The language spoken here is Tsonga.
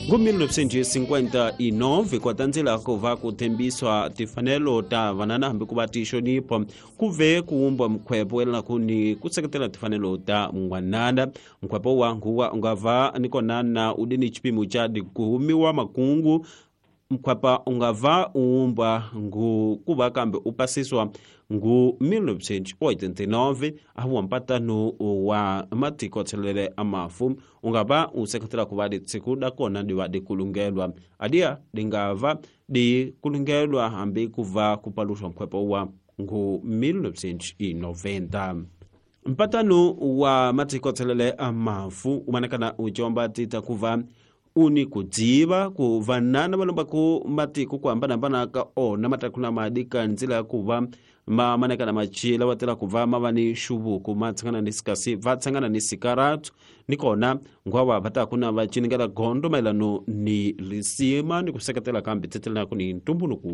Ngo-1959 kwatandzela ku va ku tshembiswa timfanelo ta vanana hambi ku va ti xonipho, ku ve ku wumba mkhwepo yelanaku ni ku seketela timfanelo ta n'wanana. Mkhwepo wa nguwa u nga va ni kona na u di ni xipimo xa ku humiwa makungu. Mkhwepa u nga va u wumba ngu ku va kambe u pasiswa ngu 1989 ahuwa mpatano wa matiko tshelele a mafu u nga va u seketela ku va litshiku da kona di va di kulungelwa adia di nga va di kulungelwa hambi ku va ku paluxwa nkhwepo wa ngu 1990. Mpatano wa matiko tshelele a mafu u manakana u comba tita ku va u ni ku dziva ku vanana va lombaku matiko ku hambanahambana ka ona ma taku na madi ka ndzila ya ku va ma manekana macila wa tela ku va ma va ni xuvuku ma tshangana ni sikasi va tshangana ni sikaratu ni kona ngwava va taku na va ciningela gondo mayelano ni lisima ni ku seketela kambe tsetelanaku ni ntumbuluko.